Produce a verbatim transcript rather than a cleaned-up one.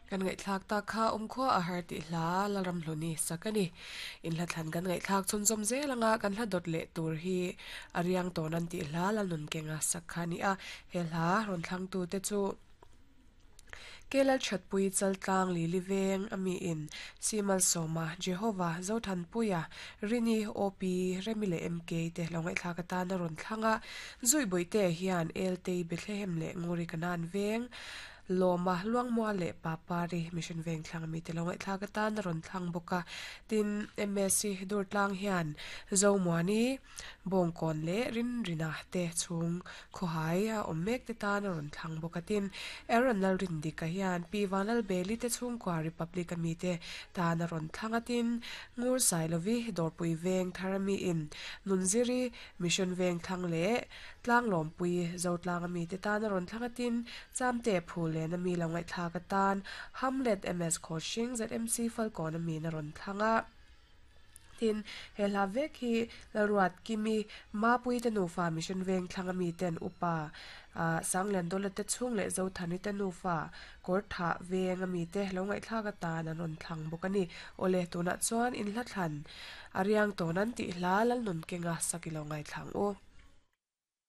Kan ngaihthlak tak kha awmkhua a har tih hla Lalramhluni sak a ni. Inhla thlan kan ngaihthlak chhunzawm zel anga kan hla dawt leh tur hi a riang tawn an tih hla Lalnunkenga sak kha a ni a. He hla rawn thlangtu te chu Kelal Thatpui Chaltlang Lili Veng ami in Simal Sawma Jehovah Zothanpuia Rini O P Remi leh M K te lo ngaihthlak atan a rawn thlang a. Zuibuite hian Eltei Bethlehem leh Nguri Kanan Veng Lawma Luangmua leh Papari Mission Veng thlang ami te lo ngaihthlak atan a rawn thlang bawk a. Tin M S C Durtlang hian Zomuani Bawngkawn leh Rinrina te chhung khawhai a awm mek te tan a rawn thlang bawk a. Tin Aaron Lalrindika hian Pi Vanlalbeli te chhungkua Republic ami te tan a rawn thlang a. Tin Ngur Sailovi Dawrpui Veng thar ami in Nunziri Mission Veng thlang leh Tlanglawmpui Zotlang ami te tan a rawn thlang a. Tin Chamte Phulen ami lo ngaihthlak atan Hamlet M S Khawhring Z M C Falkawn ami in a rawn thlang a. Tin he hla vek hi Lalruat Kimi Mapui te nufa Mission Veng thlang ami ten upa ah Sanglian Dawla te chhung leh Zothani te nufa Kawrthah Veng ami te lo ngaihthlak atan an rawn thlang bawk a ni. Awle tunah chuan inhla thlan a riang tawn an tih hla Lalnunkenga sak i lo ngaithlang u.